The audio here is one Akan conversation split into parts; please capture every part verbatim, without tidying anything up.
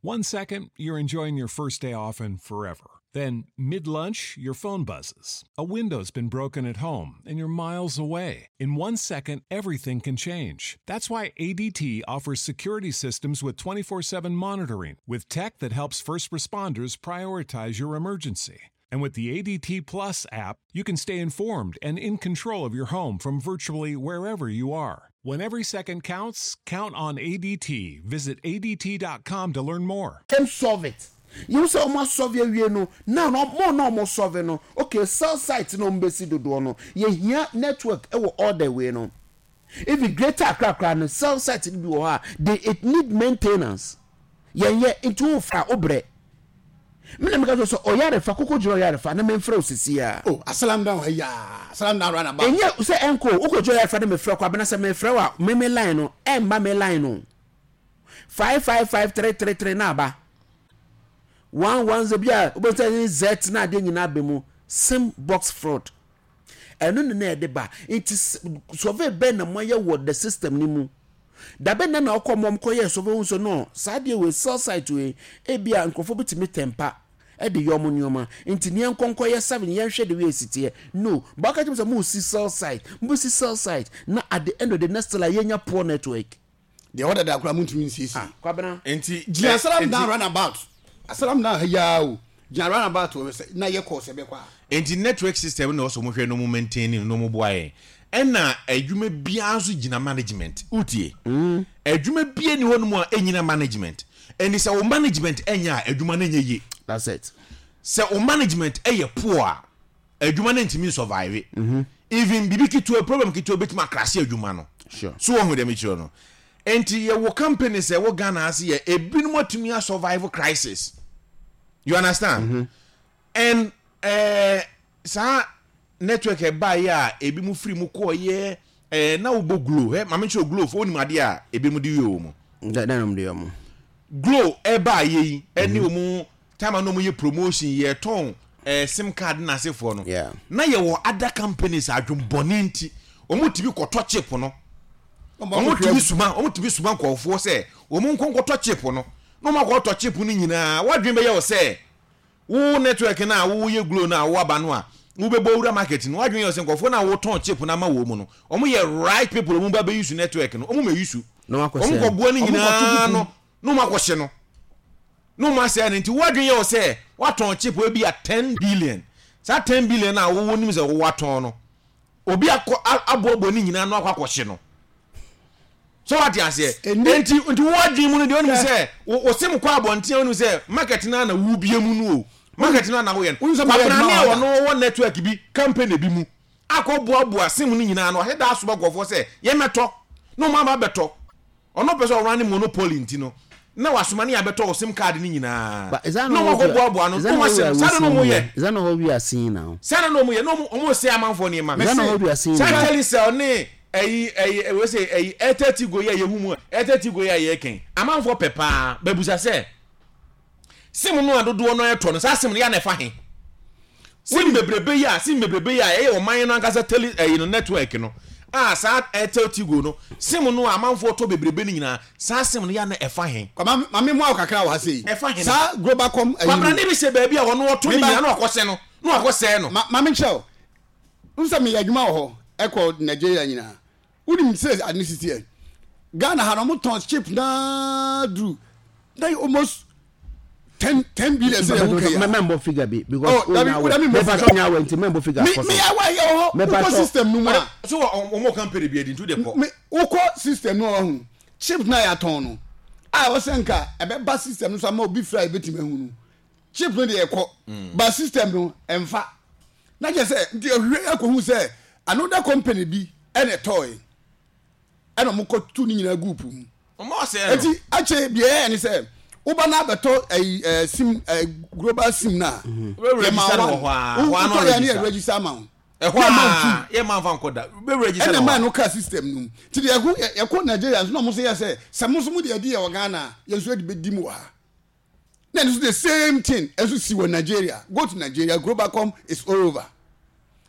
One second, you're enjoying your first day off and forever. Then, mid lunch, your phone buzzes. A window's been broken at home and you're miles away. In one second, everything can change. That's why A D T offers security systems with twenty-four seven monitoring, with tech that helps first responders prioritize your emergency. And with the A D T Plus app, you can stay informed and in control of your home from virtually wherever you are. When every second counts, count on A D T. Visit A D T dot com to learn more. Them solve it. Yiwu sɛ ɔmo asolve awie no, now no mo na ɔmo solve no. Okay, cell site na ɔmo bɛsi dodoɔ no, yɛhia network ɛwɔ all the way no. Even Greater Accra kora no, cell site no bi wɔ hɔ a they it need maintenance. Yɛn yɛ nti wo fra wo brɛ mi na mi ka sɛ ɔyarefa koko gyina ɔyarefa na mɛmfrɛ o sisi a. Oh, asalam down ha yaa, asalam down run about. Ɛnyɛ sɛ ɛnko wokɔ gyina ɔyarefa na mɛfrɛ kɔ abena sɛ mɛfrɛ wa mɛmɛ line no, ɛmba mɛ line no five five five three three three na aba one one zero bi a wobɛsɛ ne z na adeɛ nyinaa bɛ mu. SIM box fraud ɛno ne na ɛde ba. Nti survey bɛn na moayɛ wɔ the system ni mu? Dabe na na ɔkɔ mɔm kɔyɛ survey ho so no, saa deɛ wei, cell site wei, ebi a nkurɔfoɔ bi tumi tɛmpa ɛde yɛ ɔmo nneɛma nti neɛ nkɔnkɔ yɛ seven, yɛnhwɛ de wei esi teɛ no baaka kyerɛ sɛ mo si cell site, mo si cell site na at the end of the next like yɛnya poor network. Deɛ ɔda da akora muntumi nsiesie. Ah, Kwabena. Nti gyina ɛ- asalam nti- down roundabout, asalam down ha yaa o, gyina roundabout wɔ sɛ na yɛ kɔɔ sɛ bɛkɔ a. Nti network system na ɔsɔ mo hwɛ no, mo maintain no, mo boa yɛn. Ɛna adwuma biara nso gyina management. Wotie, adwuma biara ni hɔ nom a ɛnyina management. Ɛni sɛ wo management ɛnyɛ a, adwuma no nyɛ yie. That's it. Sɛ wo management ɛyɛ poor a, adwuma no ntumi survive. Even bibi ketewa, problem ketewa bɛtumi acrash adwuma no. Sure. So wɔn ho dɛm kyerɛ no. Nti yɛwɔ companies a ɛwɔ Ghana ase yɛ ebinom atumi asurvive crisis, you understand? mm -hmm. And ɛɛ saa network ɛbaayɛ a ebi mu firi mu kɔɔyɛ ɛɛ na wobɔ Glo ɛ maame nkyɛn Glo fo, onim adeɛ a ebi mu de yɛ wɔ mu. Dɛ dɛ nom de yɛ mo. Glo ɛbaayɛ yi ɛne wɔn time a na wɔn yɛ promotion, yɛ tɔn ɛɛ SIM card n'asefoɔ no, Yeah. na yɛwɔ other companies adwumbɔne nti wɔn tumi kɔtɔ chip no, wɔn tumi suma wɔn tumi suma nkɔɔfoɔ sɛ wɔn nkɔ nkɔtɔ chip no na wɔn akɔtɔ chip no nyinaa. Wadwin bɛyɛ wɔ sɛ wo network na wo yɛ Glo na wo aba no a wobɛbɔ wura market no, wadwin yɛ wɔ sɛ nkɔfoɔ na wotɔn chip no ama wɔ mu no, wɔn yɛ right people, wɔn ba bɛ use network no, wɔn mɛ use. Na wakɔ wɔn sɛ kɔ boa no Wɔn kɔto nyinaa kuku. No na wɔn akɔhyɛ no na wɔn asɛe no. Nti wadwin yɛ wɔ sɛ watɔn chip ebi a ten billion. Saa ten billion a wɔwɔ nim sɛ wɔwɔ atɔn no, obi akɔ a- aboaboa ne nyinaa no akɔ akɔhye no so, wate aseɛ? Ɛni- nti nti wɔadwin mu no deɛ, onim sɛ wo wo sim kɔ abɔnten, onim sɛ market no na wubie mu no o, market no na woyɛ no. Wonim sɛ mayɛ Kwabrane adwuma a wɔ ha. ɔno wɔ network bi, company bi mu akɔ boaboa sim no nyinaa no, ɔhyɛ da asoma nkɔfoɔ sɛ yɛmɛtɔ na ɔmo aba abɛtɔ. Ɔno pɛ sɛ ɔrun ne monopoly nti no na wasoma ne abɛtɔ wɔ SIM card no nyinaa But is that na not ɔmo what akɔ boaboa no is na that ɔmo not ahyɛ no what we saa are na ɔmo seeing yɛ here? Is that not what we are seeing now? Saa na ɔmo yɛ na ɔmo ɔmo sɛ amanfoɔ nneɛma. Is that not what we are seeing Saa now? Telecel ne ɛyi ɛyi ɛwɔ sɛ ɛyi Airtel Tigo yi a yɛhu mu a, Airtel Tigo yi a yɛkɛn, amanfoɔ pɛ paa bɛbusa sɛ SIM no a dodoɔ no ɛtɔ no, saa SIM no yɛ na ɛfa he? SIM bebrebe yi a SIM bebrebe yi a ɛyɛ ɔman no ankasa tele ɛyi no network no a, saa Airtel Tigo no SIM no a amanfoɔ tɔ bebrebe no nyinaa, saa SIM no yɛ na ɛfa he? Kwama maame mu awo kakra wɔ ha sei. Ɛfa he? Saa Globacom ɛyi Kwabra no ne bi hyɛ baabi a ɔno ɔtɔ ne Meba- nyinaa na wakɔhyɛ no na wakɔsɛɛ no. Ma maame nkyerɛ o n sɛ meyɛ adwuma wɔ hɔ ɛkɔ Nigeria nyinaa. Wonim sɛ ade ne sisi yɛ Ghana ha no, ɔmo tɔn chip naa duru na yɛ almost ten ten billion sɛ yɛ wo kɛ ya. Mɛmbɔ figure bi because Oh, dabi, wo dabi mbɔ mɛpa figure. sɛ ɔnya awɛ nti mɛmbɔ figure mi kɔ mi so. awa yɛ wɔ hɔ. Mɛpa Wokɔ sɛ- system no mu a So ɔmo company bi adi nti de kɔ. Mi wokɔ system no ɔho chip na yɛatɔn no a wɔsɛ nka ɛbɛba system no so ama obi fira ebɛtumi ahu no, chip no deɛ ɛkɔ ba system no ɛmfa na kyerɛ sɛ nti ehwɛ akɔhu sɛ another company bi ɛna ɛtɔɔɛ ɛna ɔmo kɔ tu ne nyinaa gu po mu. Ɔmo ɔsɛɛ no. Eti akyɛ deɛ ɛyɛ ne sɛ woba na abɛtɔ ɛyi ɛɛ SIM, ɛɛ global SIM na Wobɛ register no wɔ hɔ a, hɔ a na wotɔ yɛ ne yɛ ɔregister. Register ama wo. Ɛhɔ Na ɛma wo a free. yɛ maa nfa nkɔ da bɛ register Ɛna no maa hɔ. No kaa system no mu nti deɛ yɛko yɛ- yɛkɔ Nigeria nso na ɔmo nso yɛ sɛ sɛ mo nso mo deɛ ɛdi yɛ wɔ Ghana a, yɛn nso yɛde bɛdi mu wɔ ha na ɛno nso the same thing ɛnso si wɔ Nigeria. Go to Nigeria, Globacom is all over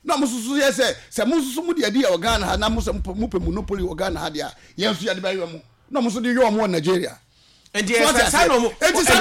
na ɔmo nso so yɛ sɛ sɛ mo nso so mo deɛ ɛdi yɛ wɔ Ghana ha na mo sɛ mo pɛ- mo pɛ monopoly wɔ Ghana ha deɛ a, yɛn nso yɛde bɛyɛ mo na ɔmo nso de yɛ ɔmo wɔ Nigeria. Nti So ɛsɛ ɔte saa na aseɛ? ɔmo Enti saa